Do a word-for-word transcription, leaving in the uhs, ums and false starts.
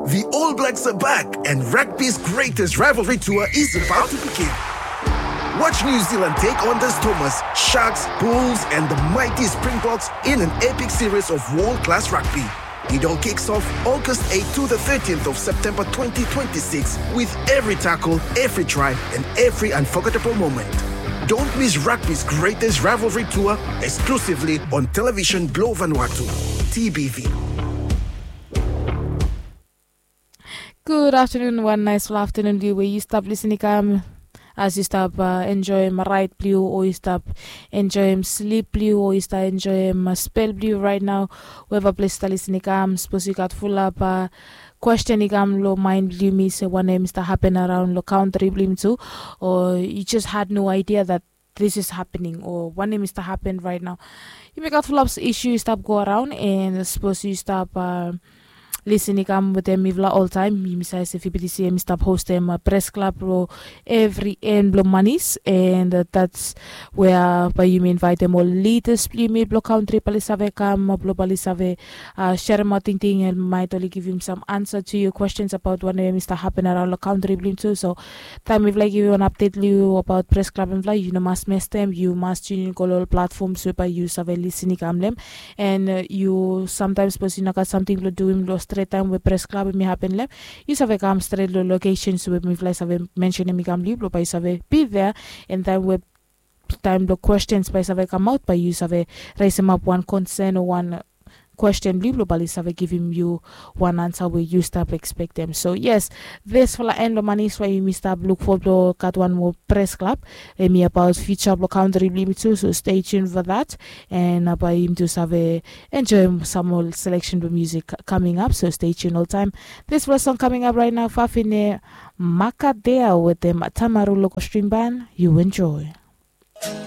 The All Blacks are back, and rugby's greatest rivalry tour is about to begin. Watch New Zealand take on the Stormers, Sharks, Bulls, and the mighty Springboks in an epic series of world class rugby. It all kicks off August eighth to the thirteenth of September twenty twenty-six, with every tackle, every try, and every unforgettable moment. Don't miss rugby's greatest rivalry tour, exclusively on Television Globe Vanuatu, T B V. Gud aftanun, wan naesfala aftanun blong yu we yu stap lisin i kam. As yu stap enjoim raet blong yu, o yu stap enjoim slip blong yu, o yu stap enjoim spel blong yu raet nao. Weva ples yu stap lisin i kam, sapos yu gat fulap kwesten i kam long maen blong yumi se wanem i stap hapen araon long kantri blong yumi tu, o yu jes had no aidia dat this is happening, o wanem i stap hapen raet nao. Yumi gat fulap isu i stap go araon, and sapos yu stap lisin i kam wetem mifala oltaem, yumi save se fibitisi em i stap hostem pres klab long evri en blong manis, and dats wea bae yumi invaetem ol lidas blong yumi blong kantri bae oli save kam blong bae oli save seremaot tingting, and maet oli givim sam ansa tu yu kwestens abaot wanem i stap hapen araon long kantri blong yumi tu. So taem mifala i givim wan apdet long yu abaot pres klab blong mifala, yu no mas mestem, yu mas tunin go long ol platfoms we bae yu save lisin i kam long hem. And yu samtaem sapos yu no gat samting blong duim long stret taem we pres klab hemi hapen long hem, yu save kam stret long lokesens we mifala i save mensenem i kam long yu blong bae yu save be there. And taem we taem blong kwestens bae i save kamaot, bae yu save resemap wan konsen o wan kwesten blong yu blong bae oli save givim yu wan ansa we yu stap ekspektem. So yes, disfala en long manis we yumi stap luk fo blong gat wan moa pres klab. Hemi abaot fiuja blong kantri blong yumi tu, so stay tuned for that. And bae yumi tu save enjoim sam ol seleksen blong musik coming up, so stay tuned oltaem. Disfala song coming up raet nao, Fafine Makadea wetem Tamaru Loko String Band. Yu enjoy.